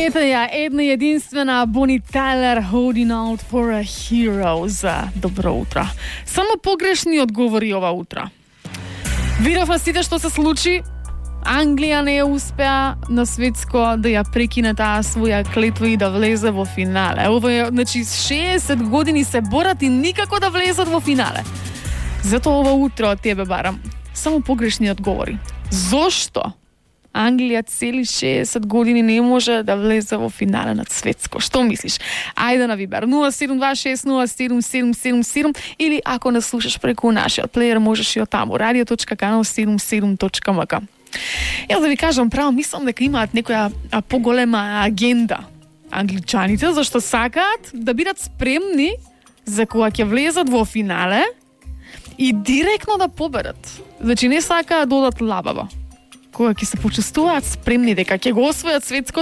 Ето ја, една единствена Бони Тайлер, Holding Out for a Hero. За добро утро. Само погрешни одговори ова утро. Видовме сите што се случи. Англија не успеа на светско да ја прекине таа своја клетва и да влезе во финале. Ова е, значи, 60 години се борат и никако да влезат во финале. Затоа ова утро од тебе барам само погрешни одговори. Зошто Англија цели 60 години не може да влезе во финале на светско? Што мислиш? Ајде на Вибер 0726077777 или ако не слушаш преку нашиот плеер, можеш и од таму radio.canal77.mk. Јас да ви кажам право, мислам дека имаат некоја поголема агенда англичаните, зашто сакаат да бидат спремни за кога ќе влезат во финале и директно да победат. Значи не сакаат да одат лабаво. Кога ќе се почувствуваат спремни дека ќе го освојат светското,